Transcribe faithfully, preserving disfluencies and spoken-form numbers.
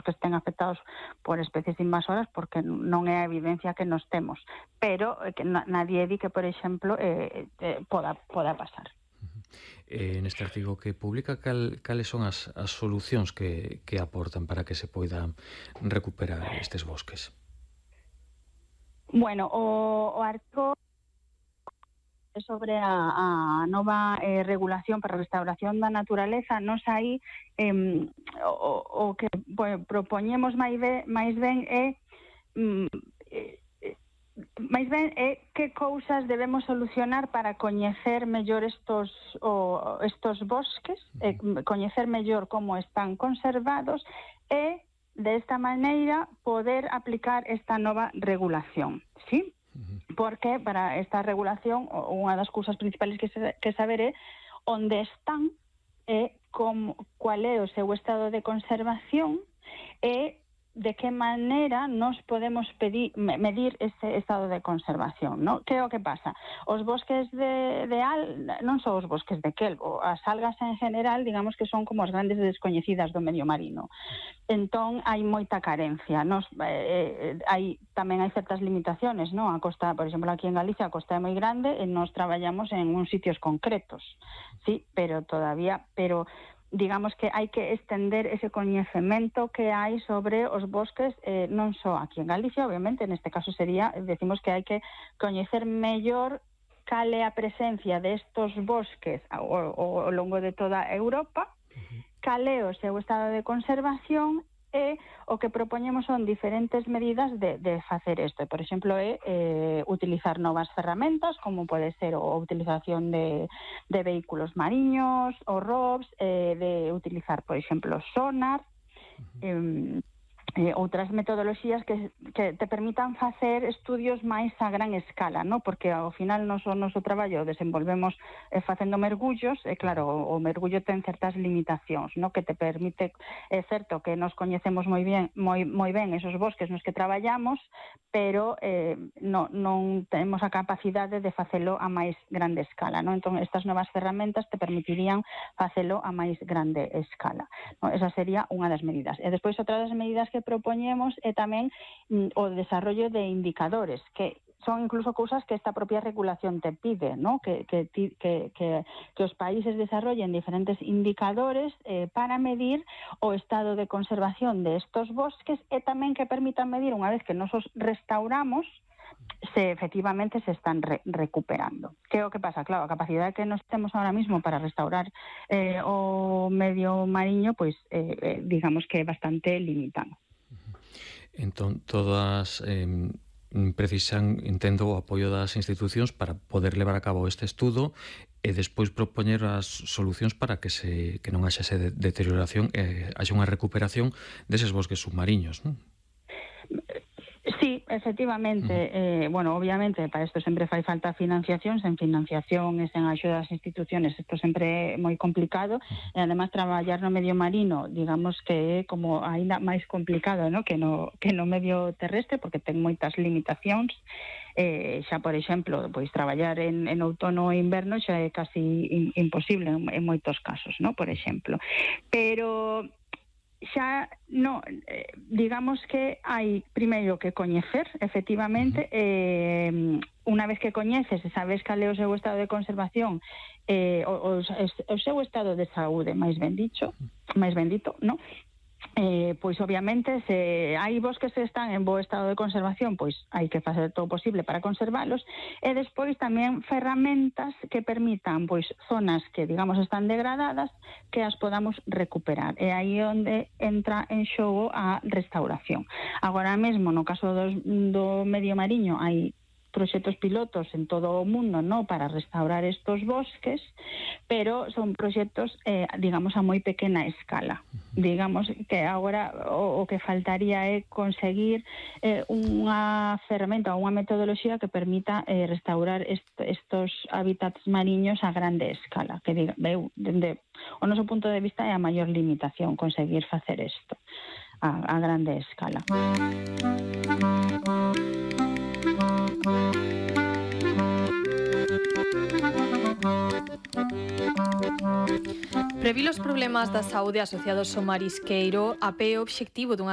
bosques estén afectados por especies invasoras, porque non é a evidencia que nos temos, pero que nadie di que, por exemplo, eh, eh, poda, poda pasar. Eh, neste artigo que publica, cal, cales son as, as solucións que, que aportan para que se poidan recuperar estes bosques? Bueno, o, o artigo sobre a, a nova eh, regulación para a restauración da naturaleza, nos aí eh, o, o que bueno, propoñemos máis ben, máis ben é mm, eh, máis ben é que cousas debemos solucionar para coñecer mellor estos o, estos bosques, e coñecer mellor como están conservados e, desta maneira, poder aplicar esta nova regulación, ¿sí? Porque para esta regulación unha das cousas principales que, se, que saber é onde están e como, cual é o seu estado de conservación e de que maneira nos podemos pedir, medir ese estado de conservación, ¿no? Que é o que pasa? Os bosques de, de al, non son os bosques de kelp, as algas en general, digamos que son como as grandes descoñecidas do medio marino. Entón, hai moita carencia. Nos, eh, hai, tamén hai certas limitaciones, ¿no? A costa, por exemplo, aquí en Galicia, a costa é moi grande e nos traballamos en uns sitios concretos, sí, pero todavía, pero digamos que hai que extender ese coñecemento que hai sobre os bosques, eh, non só aquí en Galicia, obviamente, neste caso sería, decimos que hai que coñecer mellor cal é a presencia destos bosques ao, ao, ao longo de toda Europa, cal é o seu estado de conservación e o que propoñemos son diferentes medidas de, de facer isto. Por exemplo, é eh, utilizar novas ferramentas, como pode ser a utilización de, de vehículos mariños, ou R O Vs, eh, de utilizar, por exemplo, sonar, eh, eh, outras metodoloxías que, que te permitan facer estudios máis a gran escala, ¿no? Porque ao final nos, o noso traballo desenvolvemos eh, facendo mergullos, e claro, o, o mergullo ten certas limitacións, ¿no? Que te permite, é certo que nos coñecemos moi ben, moi, moi ben esos bosques nos que traballamos, pero eh, no, non temos a capacidade de facelo a máis grande escala, ¿no? Entón, estas novas ferramentas te permitirían facelo a máis grande escala, ¿no? Esa sería unha das medidas. E despois, outra das medidas que propoñemos é tamén mm, o desarrollo de indicadores, que son incluso cousas que esta propia regulación te pide, ¿no? Que, que, que, que, que os países desarrollen diferentes indicadores eh, para medir o estado de conservación de estos bosques e tamén que permitan medir, unha vez que nos os restauramos, se efectivamente se están re recuperando. Que é o que pasa? Claro, a capacidade que nos temos ahora mismo para restaurar eh, o medio mariño, pois eh, eh, digamos que é bastante limitado. Entón, todas eh, precisan, entendo, o apoio das institucións para poder levar a cabo este estudo e despois propoñer as solucións para que se que non haxa esa de deterioración e haxa unha recuperación deses bosques submariños, non? Sí, efectivamente, uh-huh. eh, bueno, obviamente para isto sempre fai falta financiación, sen financiación e sen axuda das instituciones isto sempre é moi complicado, uh-huh. E además traballar no medio marino, digamos que é como aínda máis complicado, ¿no? que no que no medio terrestre, porque ten moitas limitacións, eh, xa por exemplo, pois traballar en, en outono e inverno xa é casi in, imposible en, en moitos casos, ¿no? Por exemplo. Pero xa, no, eh, digamos que hai primeiro que coñecer, efectivamente, eh, unha vez que coñeces e sabes cal é o seu estado de conservación, eh, o, o, o seu estado de saúde, máis ben dicho, máis ben dito, no? Eh, pois obviamente se hai bosques que están en bo estado de conservación, pois hai que facer todo o posible para conservalos, e despois tamén ferramentas que permitan pois zonas que digamos están degradadas que as podamos recuperar, e aí onde entra en xogo a restauración. Agora mesmo no caso dos, do medio mariño hai proxectos pilotos en todo o mundo, ¿no? Para restaurar estos bosques, pero son proxectos, eh, digamos, a moi pequena escala. Digamos que agora o, o que faltaría é conseguir eh, unha ferramenta ou unha metodoloxía que permita eh, restaurar est estos hábitats mariños a grande escala, que diga, eu, dende o noso punto de vista é a maior limitación conseguir facer isto a, a grande escala. Previr os problemas da saúde asociados ao marisqueiro a pé o obxectivo dunha